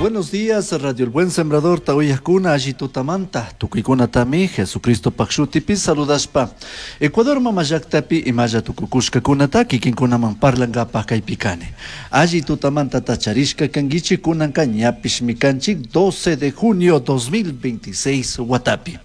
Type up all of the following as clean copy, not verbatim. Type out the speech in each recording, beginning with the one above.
Buenos días, Radio El Buen Sembrador, uyajcuna, alli tutamanta, tucuicunatami, Jesucristopaj shutipi saludashpa. Ecuador mama llaktapi imalla tucucushcacunata kikinkunaman parlangapaj kaypi kani. Alli tutamanta tacharishka kanguichik kunanka ñapishmi kanchik 12 de junio 2026 watapi.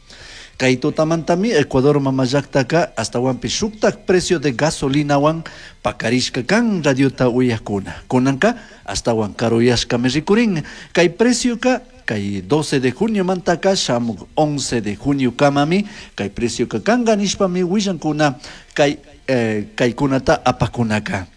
Kay tutamantami Ecuador mama llaktaka ashtawanpish shuktak precio de gasolinawan pakarishka kan radiota uyajkuna. Kunanka ashtawan karuyashkami rikurin. Kay precioka kay 12 de junio mantaka shamuk 11 de junio kamami kay precioka kanka nishpami willankuna kay kaykunata apakunaka.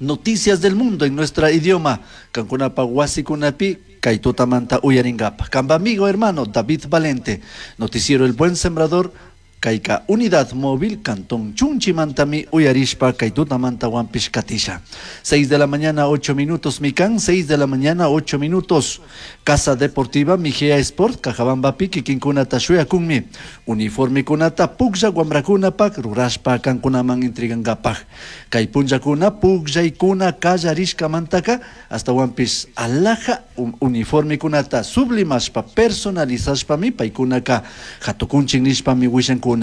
Noticias del mundo en nuestra idioma. Kankunapa wasikunapi kay tutamanta uyaringapa. Kamba amigo hermano David Valente. Noticiero El Buen Sembrador. Kayka Unidad Móvil Cantón Chunchimantami uyarishpa kay tutamanta wanpish katisha. 6 de la mañana 8 minutos Mikan, 6 de la mañana 8 minutos. Casa Deportiva Mejía Sport, Cajabambapi, kikinkunata shuyakunmi. Uniformekunata puklla wamrakunapak rurashpa kankunaman entregankapaj. Kay punllakuna pukllaykuna kallarishkamantaka ashtawanpish alhaja uniformekunata sublimashpa personalizashpami paykunaka hatukunchik nishpami willankuna.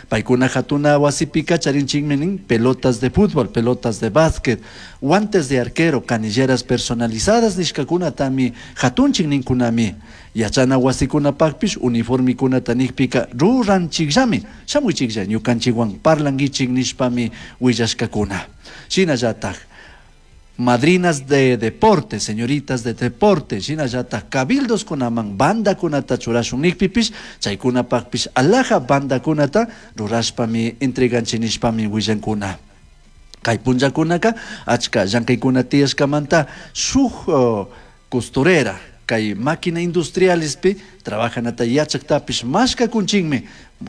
Paykuna hatuna wasipika charinchikmi nin pelotas de fútbol, pelotas de básquet, guantes de arquero, canilleras personalizadas nishkakunatami hatunchik ninkunami. Yachana wasikunapakpish uniformikunata nikpika ruranchikllami, shamuychiklla ñukanchikwan parlanguichik nishpami willashkakuna. Shinallatak madrinas de deporte, señoritas de deporte, shinallatak cabildos kunaman bandakunata churashun nikpipish, chaykunapakpish alhaja bandakunata rurashpami entreganchik nishpami willankuna. Kay punllakunaka achka llankaykuna tiyashkamanta shuk costurera kay máquina industrialespi trabajanata yachaktapish mashkakunchinmi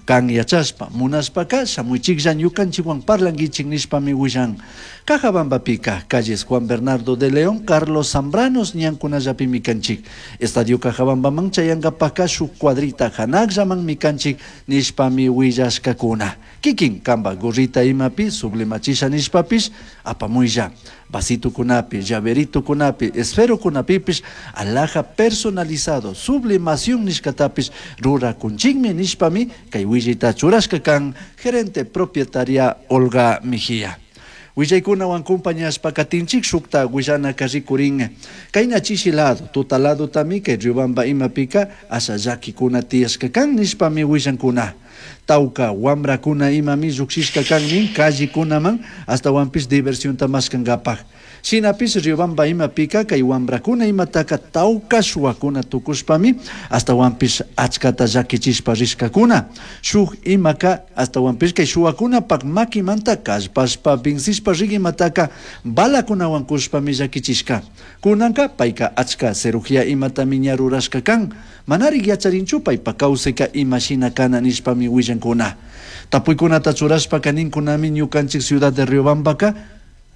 kan yachashpa munashpaka shamuychiklla ñukanchikwan parlanguichik nishpami willan. Cajabambapika calles Juan Bernardo de León, Carlos Zambranos ñankunallapimi kanchik. Estadio Cajabambaman chayankapaka shuk cuadrita hanakllamanmi kanchik nishpami willashkakuna. Kikin kamba gorrita imapi sublimachisha nishpapish apamuylla. Vasitukunapi, llaveritukunapi, esferokunapipish alhaja personalizado, sublimación nishkatapish rurakunchikmi nishpami kay willayta churashka kan gerente propietaria Olga Mejía. Willaykunawan compañashpa katinchik shukta willanaka rikurin. Kayna chishi lado, tuta lado tami kay Riobamba imapika asha llakikuna tiyashka kan nishpami willankuna. Tawka wamrakuna imami llukshishka kan nin callekunaman ashtawanpish diversionta mashkankapaj. Shinapish Riobamba imapika kay wamrakuna imataka tawka shuwakuna tukushpami ashtawanpish achkata llakichishpa rishkakuna. Shuk imaka ashtawanpish kay shuwakunapak makimanta kallpashpa vencishpa rik imataka balakunawan kushpami llakichishka. Kunanka payka achka cirugía imatami ña rurashka kan. Manarik yacharinchu paypa kawsayka imashina kana nishpami willankuna. Tapuykunata churashpaka ninkunami ñukanchik ciudad de Riobambaka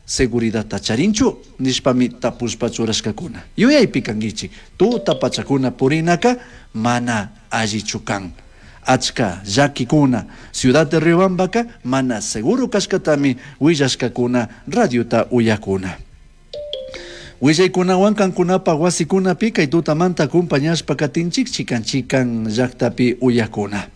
seguridadta charinchu nishpami tapushpa churashkakuna. Yuyaypi kankichik tuta pachakuna purinaka mana allichu kan. Achka llakikuna ciudad de Riobambaka mana seguro kashkatami willashkakuna radiota uyakuna. Willaykunawan kankunapa wasikunapi kay tutamanta acompañashpa katinchik chikan chikan llaktapi uyakuna.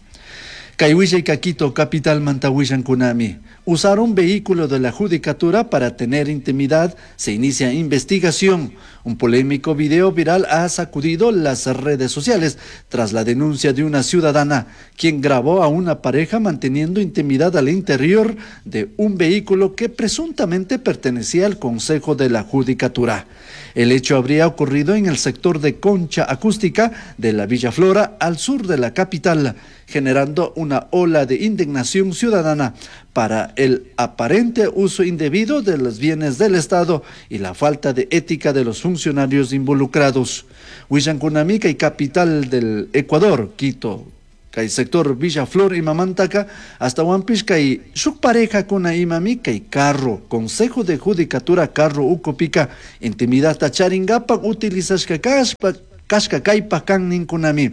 Kay willayka Quito capitalmanta willankunami. Usar un vehículo de la judicatura para tener intimidad, se inicia investigación. Un polémico video viral ha sacudido las redes sociales tras la denuncia de una ciudadana, quien grabó a una pareja manteniendo intimidad al interior de un vehículo que presuntamente pertenecía al Consejo de la Judicatura. El hecho habría ocurrido en el sector de Concha Acústica de la Villa Flora, al sur de la capital, generando una ola de indignación ciudadana para el aparente uso indebido de los bienes del Estado y la falta de ética de los funcionarios involucrados. Willankunami kay capital del Ecuador, Quito, kay sector Villa Flor imamantaka, ashtawanpish kay shuk pareja kuna imami kay carro, Consejo de Judicatura carro ukupika, intimidadta charingapak utilizashka kashpa, kashka kaypak kan ninkunami.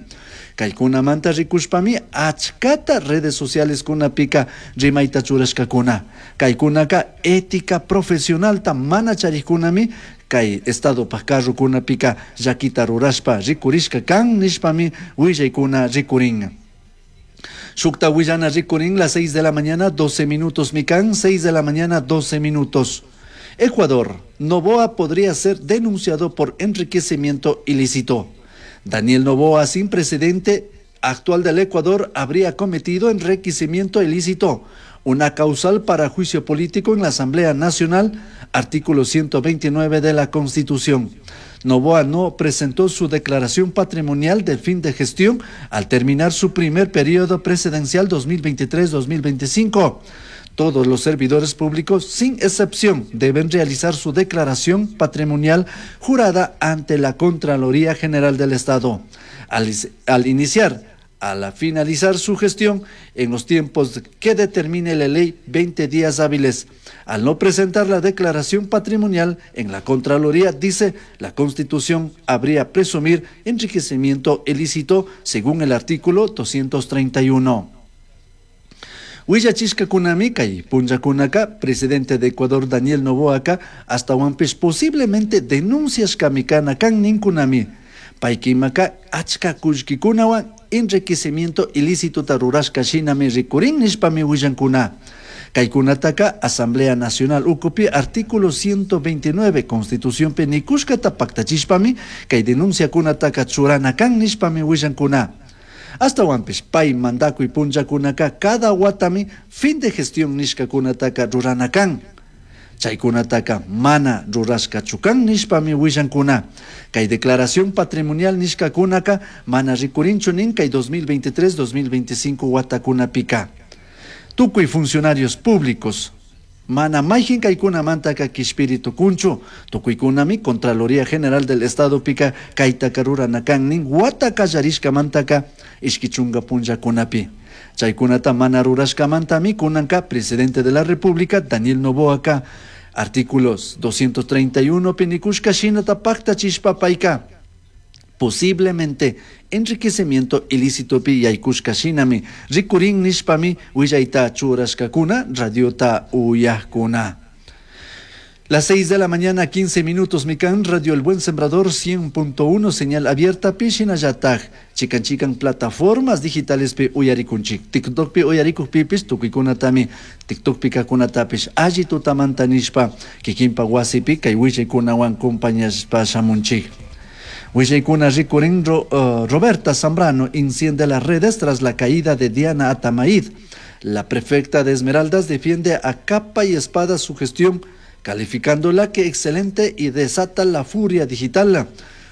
Kaykunamanta rikushpami achkata redes sociales kunapika rimayta churashkakuna. Kaykunaka ética profesionalta mana charikkunami Kay Estadopaj carrokunapika llakita rurashpa rikurishka kan nishpami willaykuna rikurin. Shukta willana rikurin las 6 de la mañana 12 minutos mikan, 6 de la mañana 12 minutos. Ecuador, Noboa podría ser denunciado por enriquecimiento ilícito. Daniel Noboa, sin precedente actual del Ecuador, habría cometido enriquecimiento ilícito, una causal para juicio político en la Asamblea Nacional, artículo 129 de la Constitución. Noboa no presentó su declaración patrimonial de fin de gestión al terminar su primer periodo presidencial 2023-2025. Todos los servidores públicos, sin excepción, deben realizar su declaración patrimonial jurada ante la Contraloría General del Estado. Al finalizar su gestión, en los tiempos que determine la ley, 20 días hábiles. Al no presentar la declaración patrimonial en la Contraloría, dice, la Constitución habría presumir enriquecimiento ilícito según el artículo 231. Willachishka kunami kay punllakunaka, presidente de Ecuador Daniel Noboaka, hasta huanpish posiblemente denuncias kamikana kan ninkunami. Paykimaka achka kullkikunawan enriquecimiento ilícito rurashka shinami rikurin nishpami willankuna. Kaykunataka Asamblea Nacional ukupi artículo 129 Constitución nikushkata paktachishpami kay denunciakunataka churana kan nishpami willankuna. Hasta pay mandakuy punllakunaka cada watami fin de gestión nishkakunataka rurana kan. Chaykunataka mana rurashkachu kan nishpami willankuna. Kay declaración patrimonial nishkakunaka mana rikurinchu nin kay 2023-2025 watakunapika. Tukuy funcionarios públicos mana mayjin kaykunamantaka kishpiri tukunchu. Tukuykunami Contraloría General del Estado pika kaytaka rurana kan nin wata kallarishkamantaka ishki chunka punllakunapi. Chaykunata mana rurashkamantami kunanka presidente de la República Daniel Noboaka artículos 231 pinikushka shinata paktachishpa payka posiblemente enriquecimiento ilícito pi yaykushka shinami rikurin nishpami willayta churashkakuna radiota uyajkuna. Las 6 de la mañana, 15 minutos, Mikan, Radio El Buen Sembrador 100.1, señal abierta, Pishinayataj, Chican Chican, plataformas digitales pi uyarikunchik, TikTok pi uyarikuj pipis, tukuykunatami, TikTok pi kakunatapish, alli tutamanta nishpa, kikinpa wasipi, kay willaykunawan compañashpa shamunchik. Willaykuna rikurin Roberta Zambrano enciende las redes tras la caída de Diana Atamaid. La prefecta de Esmeraldas defiende a capa y espada su gestión, calificándola que excelente y desata la furia digital.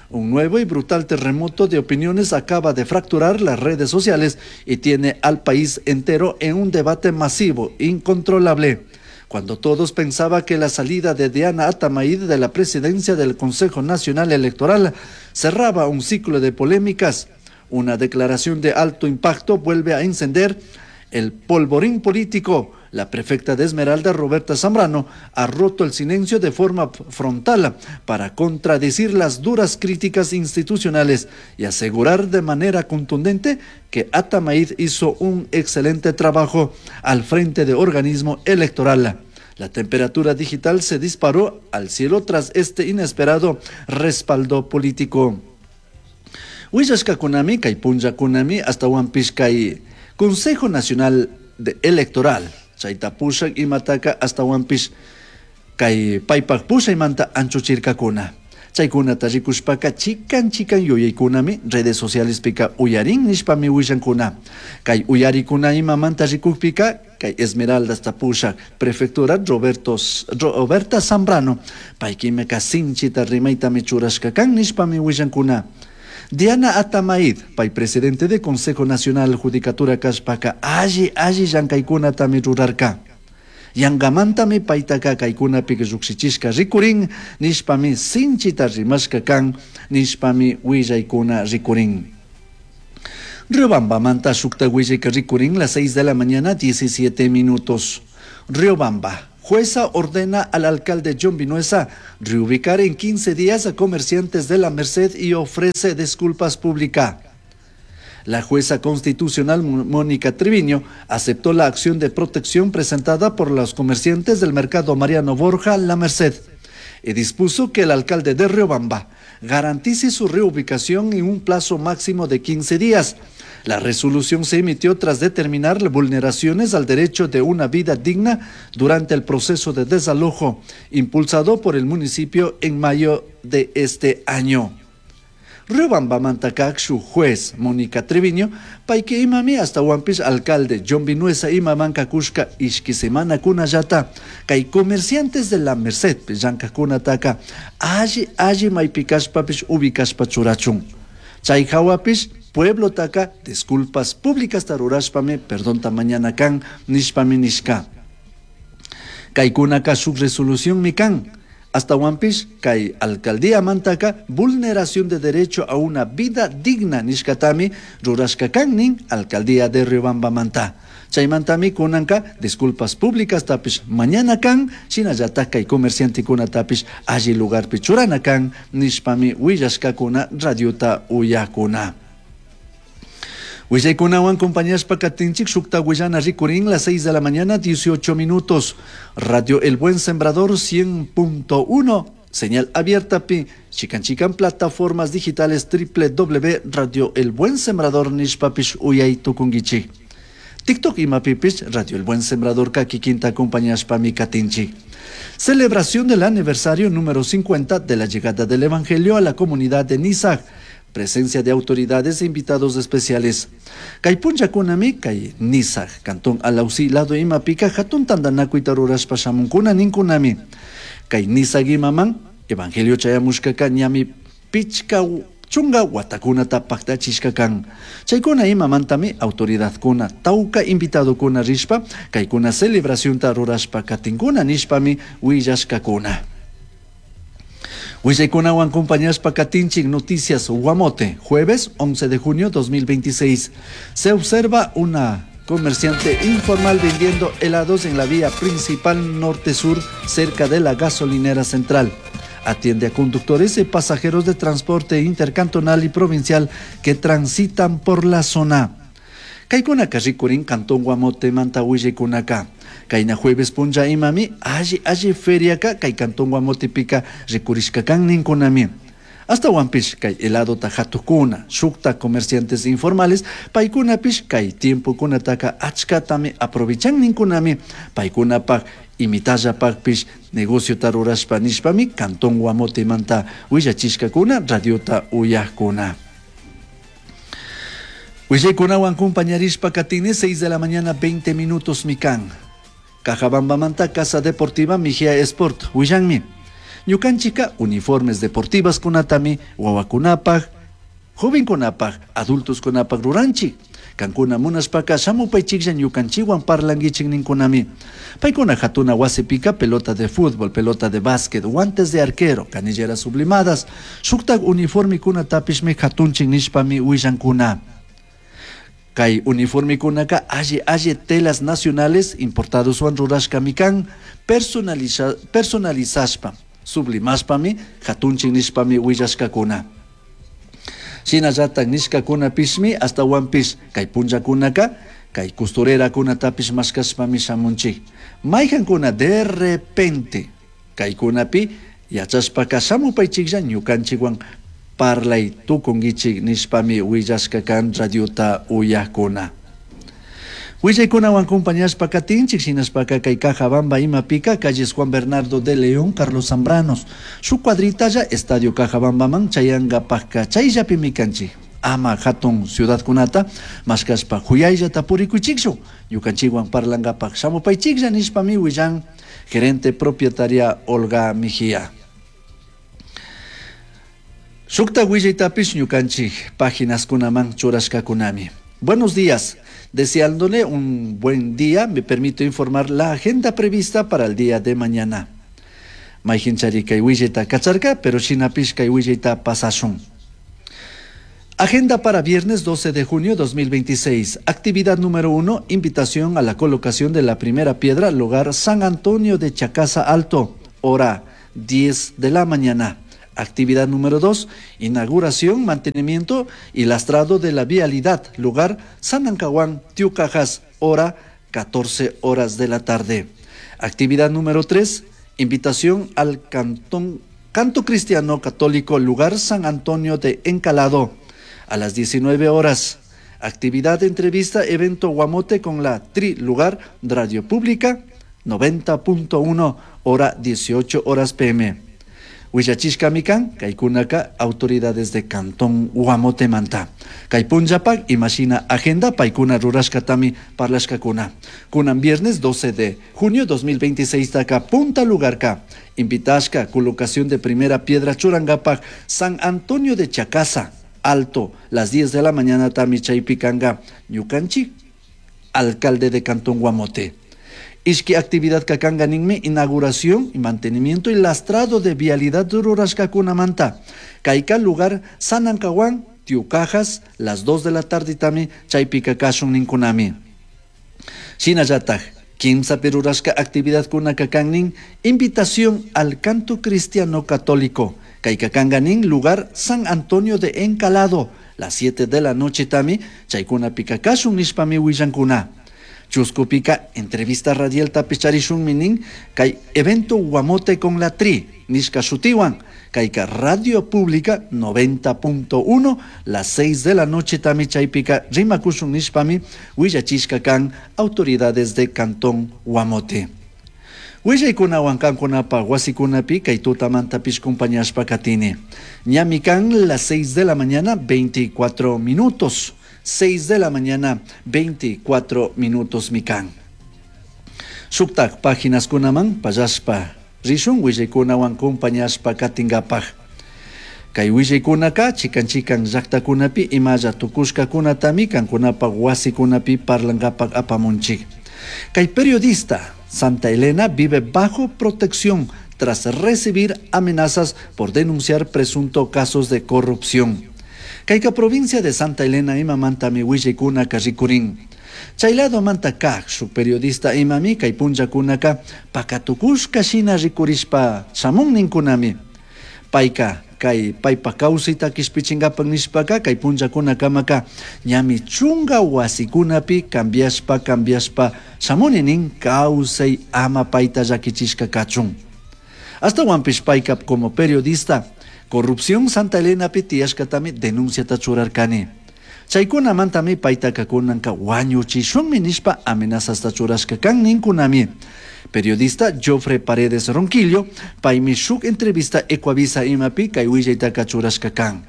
Un nuevo y brutal terremoto de opiniones acaba de fracturar las redes sociales y tiene al país entero en un debate masivo, incontrolable. Cuando todos pensaban que la salida de Diana Atamaid de la presidencia del Consejo Nacional Electoral cerraba un ciclo de polémicas, una declaración de alto impacto vuelve a encender el polvorín político. La prefecta de Esmeralda, Roberta Zambrano, ha roto el silencio de forma frontal para contradecir las duras críticas institucionales y asegurar de manera contundente que Atamaid hizo un excelente trabajo al frente de organismo electoral. La temperatura digital se disparó al cielo tras este inesperado respaldo político. Willashka kunami, kay punlla kunami, hasta kay Consejo Nacional de Electoral. Chayta pushak imataka hasta kay paypak pushaymanta anchuchirkakuna. Chaykunata rikushpaka chikan chikan yuyaykunami redes sociales pika uyarin nishpami willankuna. Kay uyarikuna imamanta rikukpika kay Esmeraldas pushak prefectura Roberta Zambrano paykimeka sinchita rimaytami churashka kan nishpami willankuna. Diana Atamaid, pay presidente de Consejo Nacional Judicatura kashpaka alli alli llankaykunatami rurarka. Yangamantami paytaka kaykunapi llukshichishka rikurin nishpami sinchita rimashka kan nishpami willaykuna rikurin. Riobambamanta shukta willayka rikurin las 6 de la mañana 17 minutos. Riobamba. Jueza ordena al alcalde John Vinuesa reubicar en 15 días a comerciantes de la Merced y ofrece disculpas públicas. La jueza constitucional Mónica Treviño aceptó la acción de protección presentada por los comerciantes del mercado Mariano Borja La Merced. Y dispuso que el alcalde de Riobamba garantice su reubicación en un plazo máximo de 15 días. La resolución se emitió tras determinar vulneraciones al derecho de una vida digna durante el proceso de desalojo impulsado por el municipio en mayo de este año. Riobambamanta kak shuk juez Mónica Treviño, payka imami ashtahuanpish alcalde John Vinuesa imaman cushca ishqui semanacunallata kay comerciantes de la Merced llankajkunataka alli alli maipi kashpapish ubicashpa churachun. Chay jawapish pueblotaka disculpas públicas rurashpami perdonta mañana kan nishpami nishka. Kaykunaka shuk resolución kan. Ashtahuanpish kay alcaldía mantaka vulneración de derecho a una vida digna nishkatami rurashka kan nin alcaldía de Riobamba manta. Chaymantami kunanka disculpas públicas tapish mañana kan shinallatak kay comerciantekunatapish alli lugarpi churana kan nishpami willashkakuna radiota uyakuna. Willaykunawan compañashpa katinchik shukta willana rikurin las 6 de la mañana 18 minutos. Radio El Buen Sembrador 100.1, señal abierta pi chikan chikan plataformas digitales www Radio El Buen Sembrador nishpapish uyay tukunguichik. TikTok imapipish Radio El Buen Sembrador kikinta acompañashpami katinchik. Celebración del aniversario número 50 de la llegada del Evangelio a la comunidad de Nizag. Presencia de autoridades e invitados especiales. Kay punllakunami kay Nizag, Cantón Alausí, lado imapika, hatun tantanakuyta rurashpa shamunkuna ninkunami. Kay Nizag imaman, Evangelio chayamushkaka ñami pichka chunga watakunata paktachishka kan. Chaykuna imamantami autoridadkuna, tawka invitadokuna rishpa, kaykuna celebracionta rurashpa katinkuna nishpami willashkakuna. Willaykunawan compañashpa katinchik Noticias Guamote, jueves 11 de junio 2026. Se observa una comerciante informal vendiendo helados en la vía principal norte-sur cerca de la gasolinera central. Atiende a conductores y pasajeros de transporte intercantonal y provincial que transitan por la zona. Kaykunaka rikurin Cantón Guamote manta willaykunaka. Kayna jueves punlla imami alli alli feriaka kay Cantón Guamotepika rikurishka kan ninkunami. Ashtahuanpish kay heladota hatukuna, shukta comerciantes informales, paykunapish kay tiempokunataka achkatami aprovechan ninkunami, paykunapaj imitallapajpish negociota rurashpa nishpami Cantón Guamotemanta willachishkakuna radiota uyajkuna. Willaykunawan compañarishpa katini 6 de la mañana 20 minutos mikan. Cajabambamanta Casa Deportiva Mejía Sport, willanmi. Ñukanchika uniformes deportivas kunatami wawakunapaj, jovenkunapaj, adultos kunapaj ruranchik. Kankuna munashpaka shamupaychiklla ñukanchikwan parlanguichik ninkunami. Paykuna hatuna wasipika pelota de fútbol, pelota de básquet, guantes de arquero, canilleras sublimadas, shuktak uniformikunatapishmi hatunchik nishpami willankuna. Kay uniformikunaka alli alli telas nacionales importados wan rurashkami kan personalizashpa, sublimashpami hatunchik nishpami willashkakuna. Shinallatak nishkakunapishmi ashtahuanpish kay punllakunaka kay costurerakunatapish mashkashpami shamunchik. Mayjankuna de repente kaykunapi yachashpaka shamupaychiklla ñukanchikwan parlay tukunguichik nishpami willashka kan radiota uyakuna. Willaykunawan compañashpa katinchik shinashpaka kay Cajabamba imapika calles Juan Bernardo de León, Carlos Zambranos. Shuk cuadritalla Estadio Cajabambaman chayangapajka chayllapimi kanchik. Ama hatun ciudadkunata mashkashpa huyayllata purikuychikchu. Ñukanchikwan parlangapaj shamupaychiklla nishpami willan gerente propietaria Olga Mejía. Shukta willaytapish ñukanchik páginas kunaman churashkakunami. Buenos días. Deseándole un buen día, me permito informar la agenda prevista para el día de mañana. Mayjinchari kay willayta kacharka, pero shinapish kay willayta pasashun. Agenda para viernes 12 de junio 2026. Actividad número 1, invitación a la colocación de la primera piedra, lugar San Antonio de Chacasa Alto, hora 10 de la mañana. Actividad número 2, inauguración, mantenimiento y lastrado de la vialidad, lugar San Ancahuán, Tiucajas, hora 14 horas de la tarde. Actividad número 3, Invitación al cantón, Canto Cristiano Católico, lugar San Antonio de Encalado, a las 19 horas. Actividad, entrevista, evento Guamote con la Tri Lugar Radio Pública 90.1 hora 18 horas pm. Willachishkami kan kaykunaka autoridades de Cantón Guamote-manta. Kay punllapak imashina agenda paykuna rurashkatami parlashkakuna. Kunan viernes 12 de junio 2026 taka punta lugarka. Invitashka colocación de primera piedra churangapak San Antonio de Chacasa, Alto, las 10 de la mañana tami chaypikanga ñukanchik, alcalde de Cantón Guamote. Ishki actividad kakanga ninmi inauguración y mantenimiento y lastrado de vialidad rurashkakunamanta. Kayka lugar Sanancahuán, Tiucajas, las 2 de la tarde tami chaypika kashun ninkunami. Shinallataj, kimsapi rurashka actividad kunaka kan nin, invitación al canto cristiano católico. Kayka kanga nin lugar San Antonio de Encalado, las 7 de la noche tami, chaykunapika kashun nishpami willankuna. Chuskupika entrevista radial tapicharishun minin kay evento Guamote con la Tri, nishka shutiwan, kayka Radio Pública 90.1, las 6 de la noche tami chaypika rimakushun nishpami willachishka kan autoridades de Cantón Guamote. Willaykunawan kankunapa wasikunapi kay tutamantapish compañashpa katini. Ñami kan las 6 de la mañana 24 minutos. 6 de la mañana, 24 minutos mikan. Shuktak páginas kunaman pallashpa rishun willaykunawan compañashpa katingapaj. Kay willaykunaka chikan chikan llaktakunapi imalla tukushkakunatami kankunapaj wasikunapi parlankapaj apamunchik. Kay periodista Santa Elena vive bajo protección tras recibir amenazas por denunciar presunto casos de corrupción. Kayka provincia de Santa Elena imamantami willaykuna rikurin. Chaylado manta kaj shuk periodista imami kay punllakunaka pakatukushka shina rikurishpa shamun ninkunami. Payka kay paypa kawsayta kishpichinkapak nishpaka kay punllakunakamaka ñami chunka wasikunapi cambiashpa cambiashpa shamuni nin kawsay ama payta llakichishka kachun. Ashtawanpish payka como periodista corrupción Santa Elena tiyashkatami denunciata churarkani. Chaykunamantami paytaka kunanka wañuchishunmi nishpa amenazasta churashka kan ninkunami. Periodista Joffre Paredes Ronquillo, paymi shuk entrevista Ecuavisa imapi kay willaytaka churashka kan.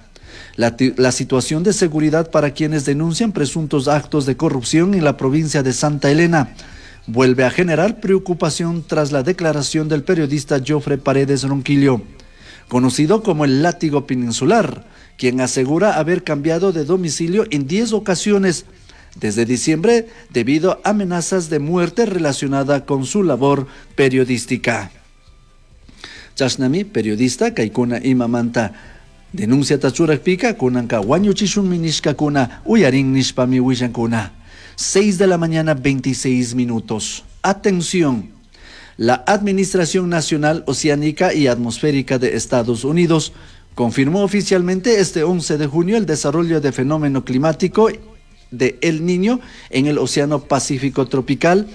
La situación de seguridad para quienes denuncian presuntos actos de corrupción en la provincia de Santa Elena vuelve a generar preocupación tras la declaración del periodista Joffre Paredes Ronquillo, conocido como el Látigo Peninsular, quien asegura haber cambiado de domicilio en 10 ocasiones desde diciembre debido a amenazas de muerte relacionada con su labor periodística. Chashnami, periodista, kaykuna imamanta denuncia tachurakpika, kunanka wañuchishunmi nishkakuna, uyarin nishpami willankuna. 6 de la mañana, 26 minutos. Atención. La Administración Nacional Oceánica y Atmosférica de Estados Unidos confirmó oficialmente este 11 de junio el desarrollo de fenómeno climático de El Niño en el Océano Pacífico tropical.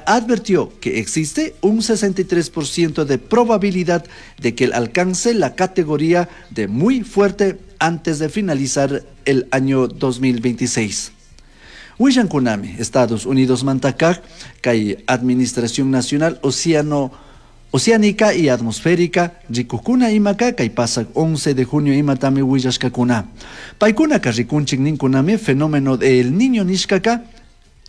Advirtió que existe un 63% de probabilidad de que alcance la categoría de muy fuerte antes de finalizar el año 2026. Willankunami, Estados Unidos manta kak, kay Administración Nacional Oceánica y Atmosférica, rikukuna imaka, kay pasak 11 de junio imatami willashkakuna. Paykunaka rikunchik ninkunami fenómeno del Niño nishkaka,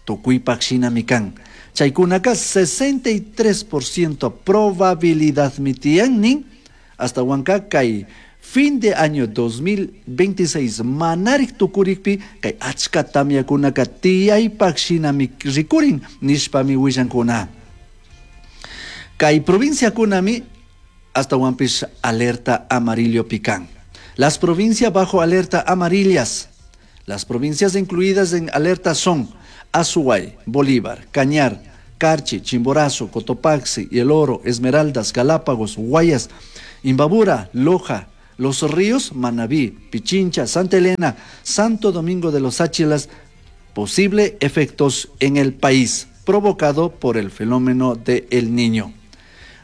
tukuypak shinami kan. Chaykunaka 63% probabilidad mi tiyan nin, hasta wanka kay fin de año 2026 manarik tukurikpi kay achka tamyakunaka tiyaypak shinami rikurin nishpami willankuna. Kay provinciakunami hasta wanpish alerta amarillo pican. Las provincias bajo alerta amarillas. Las provincias incluidas en alerta son Azuay, Bolívar, Cañar, Carchi, Chimborazo, Cotopaxi, El Oro, Esmeraldas, Galápagos, Guayas, Imbabura, Loja, Los Ríos, Manabí, Pichincha, Santa Elena, Santo Domingo de los Tsáchilas, posible efectos en el país provocado por el fenómeno de El Niño.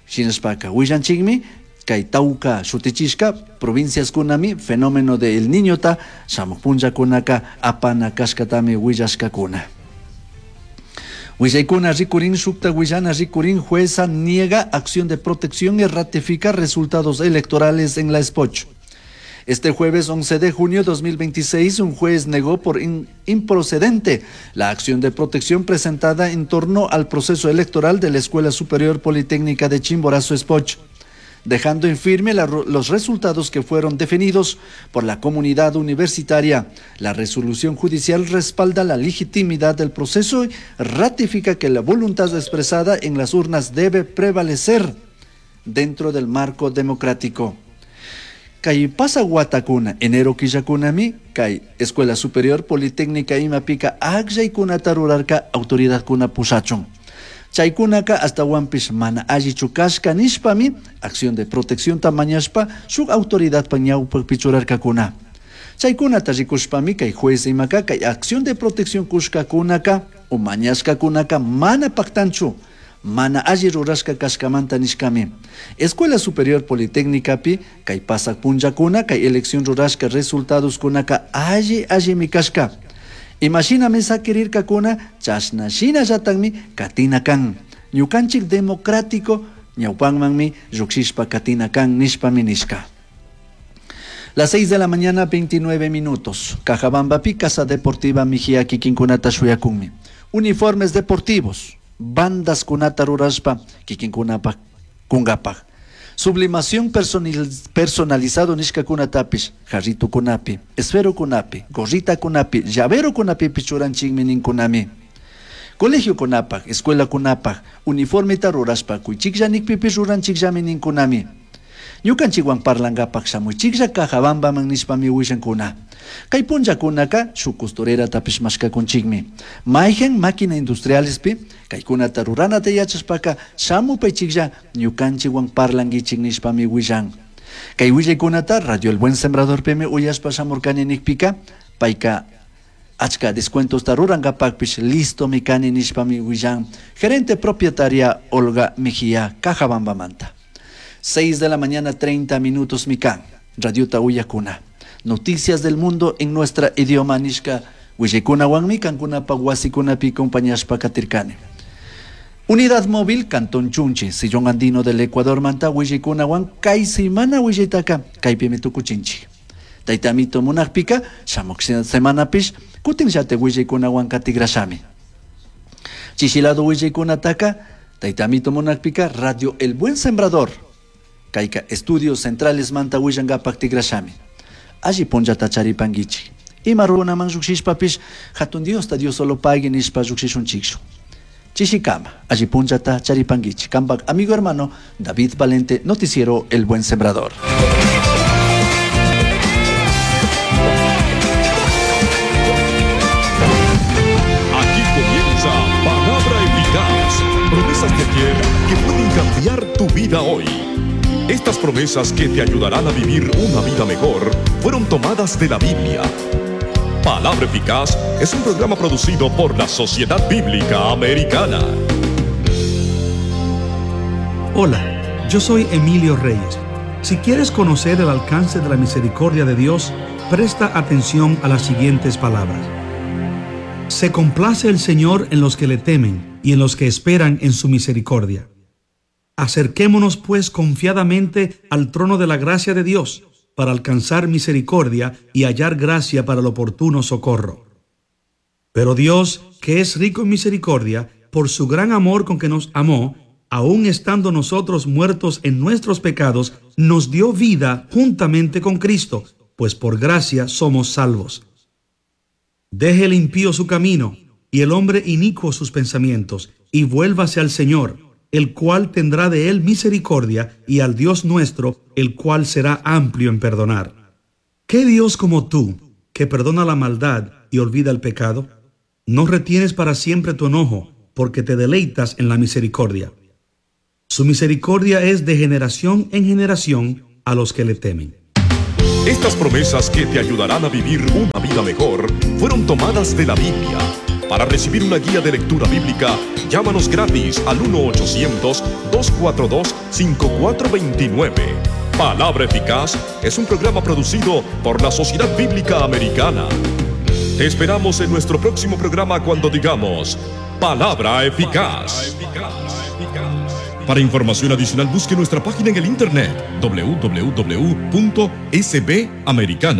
Shinashpaka willanchikmi kay tawka shutichishka provinciaskunami fenómeno de El Niñota shamuq punllakunaka apana kashkatami willashkakuna. Willaykuna rikurin shukta willana rikurin jueza niega acción de protección y ratifica resultados electorales en la Espoch. Este jueves 11 de junio de 2026, un juez negó por improcedente la acción de protección presentada en torno al proceso electoral de la Escuela Superior Politécnica de Chimborazo Espoch, dejando en firme los resultados que fueron definidos por la comunidad universitaria. La resolución judicial respalda la legitimidad del proceso y ratifica que la voluntad expresada en las urnas debe prevalecer dentro del marco democrático. Kay pasa watakuna, enero killakunami, kay Escuela Superior Politécnica imapika akllaykunata rurarka autoridadkuna pushachun. Chaykunaka astawanpish mana allichu kashka nishpami acción de protección mañashpa shuk autoridadpa ñawpakpi churarkakuna. Chaykunata rikushpami kay juez imaka kay acción de protección kushkakunaka o mañashkakunaka mana paktanchu, mana alli rurashka kashkamanta nishkami. Escuela Superior Politécnicapi kay pasak punllakuna kay elección rurashka resultados kunaka alli allimi kashka. Imashinami sakirirkakuna chashna shinallatakmi katina kan. Ñukanchik democrático ñawpanmanmi llukshishpa katina kan nishpami nishka. Las 6 de la mañana, 29 minutos. Cajabambapi, Casa Deportiva Mejía kikinkunata shuyakunmi. Uniformes deportivos, bandas kunata rurashpa kikinkunapaj kunkapaj. Sublimación personalizado nishka kunatapish, jarrito kunapi, esfero kunapi, gorrita kunapi, llavero kunapi pichuranchikmi ninkunami. Colegio kunapaj, escuela kunapaj, uniformeta rurashpa kuychiklla nikpipish ruranchikllami ninkunami. Ñukanchikwan parlankapaj shamuychiklla Cajabambaman nishpami willankuna. Kay punllakunaka shuk costureratapish mashkakunchikmi. Mayhan máquina industrialespi kaykunata ruranata yachashpaka shamupaychiklla ñukanchikwan parlankichik nishpami willan. Kay willaykunata Radio El Buen Sembradorpimi uyashpa shamurkani nikpika payka achka descuentosta rurankapakpish listomi kani nishpami willan. Gerente propietaria Olga Mejía, Cajabambamanta. 6 de la mañana, 30 minutos, mikan. Radiota Uyakuna. Noticias del mundo en nuestra idioma nishka. Willikuna wan kankuna pa wasikunapi compañashpa katirkani. Unidad Móvil, Cantón Chunchi, Sillón Andino del Ecuador, manta willikuna wan kay semana willaytaka, kaypimi tukuchinchik. Taytamito munakpika, shamuk semanapish, kutin llate willikuna wan katigrashami. Chishilado willikunataka, taytamito munakpika, Radio El Buen Sembrador. Kayka Estudios Centrales manta willankapak tigrashami. Alli punllata charipankichik. Ima runaman llukshishpapish, hatun Diosta Dios solo pagui nishpa llukshishunchikchu. Chishikama, alli punllata charipankichik. Kampak amigo hermano David Valente, Noticiero El Buen Sembrador. Aquí comienza Palabra Eficaz. Promesas de ayer que pueden cambiar tu vida hoy. Estas promesas que te ayudarán a vivir una vida mejor fueron tomadas de la Biblia. Palabra Eficaz es un programa producido por la Sociedad Bíblica Americana. Hola, yo soy Emilio Reyes. Si quieres conocer el alcance de la misericordia de Dios, presta atención a las siguientes palabras. Se complace el Señor en los que le temen y en los que esperan en su misericordia. Acerquémonos pues confiadamente al trono de la gracia de Dios para alcanzar misericordia y hallar gracia para el oportuno socorro. Pero Dios, que es rico en misericordia, por su gran amor con que nos amó, aun estando nosotros muertos en nuestros pecados, nos dio vida juntamente con Cristo, pues por gracia somos salvos. Deje el impío su camino y el hombre inicuo sus pensamientos, y vuélvase al Señor, el cual tendrá de él misericordia, y al Dios nuestro, el cual será amplio en perdonar. ¿Qué Dios como tú, que perdona la maldad y olvida el pecado? No retienes para siempre tu enojo, porque te deleitas en la misericordia. Su misericordia es de generación en generación a los que le temen. Estas promesas que te ayudarán a vivir una vida mejor fueron tomadas de la Biblia. Para recibir una guía de lectura bíblica, llámanos gratis al 1-800-242-5429. Palabra Eficaz es un programa producido por la Sociedad Bíblica Americana. Te esperamos en nuestro próximo programa cuando digamos Palabra Eficaz. Para información adicional busque nuestra página en el internet www.sbamericana.org.